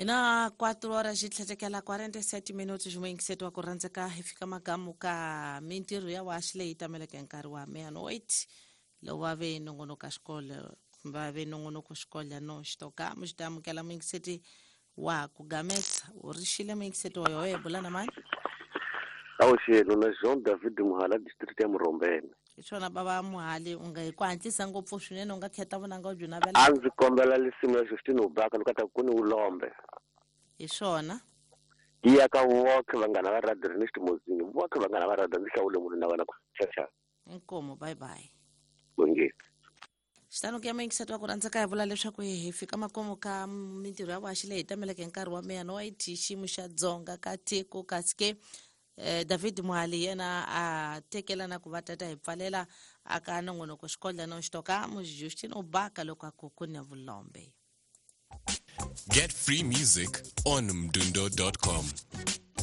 Hi na 4 horas xi tlhetekela 47 minutos muyingiseti wa ku rhandzeka hi fika magamu ka mintirho ya waxi leyi tameleke nkarhi wa meia-noite lowu va ve nongonoko xikolo va ve nongonoko xikolo no xitoka mu xi ta amukela muyingiseti wa ku gametsa u rixile muyingiseti wa yoho bula na mani. Awuxelo na Jean David Muhala, district ya Murombene. Hi swona bava Muhali, u nga hi ku hatlisa ngopfu swinene, u nga kheta vunanga u byi navela. A ndzi kombela lisimu ya Justine Ubaka loko ta ku ni ulombe. Hi swona. Yi ya ka voke vanghana va radio Ernest Mozingi, voke vanghana va radio, ndzi hlawule munhu na wena ku chacha. Inkomu, bye bye. Bongeni. Xitano ku ya muyingiseti wa ku rhandzeka hi vula leswaku hi fika makumu ka mintirho ya waxi leyi tameleke nkarhi wa meia-noite xiyimo xa dzonga ka tiko, kasi ke David Muhali yena a tekela na ku va tata hi pfalela aka nongonoko xikodla no xitoka mu Justin Ubaka loko a ku ku ne vulombe. Get free music on mdundo.com.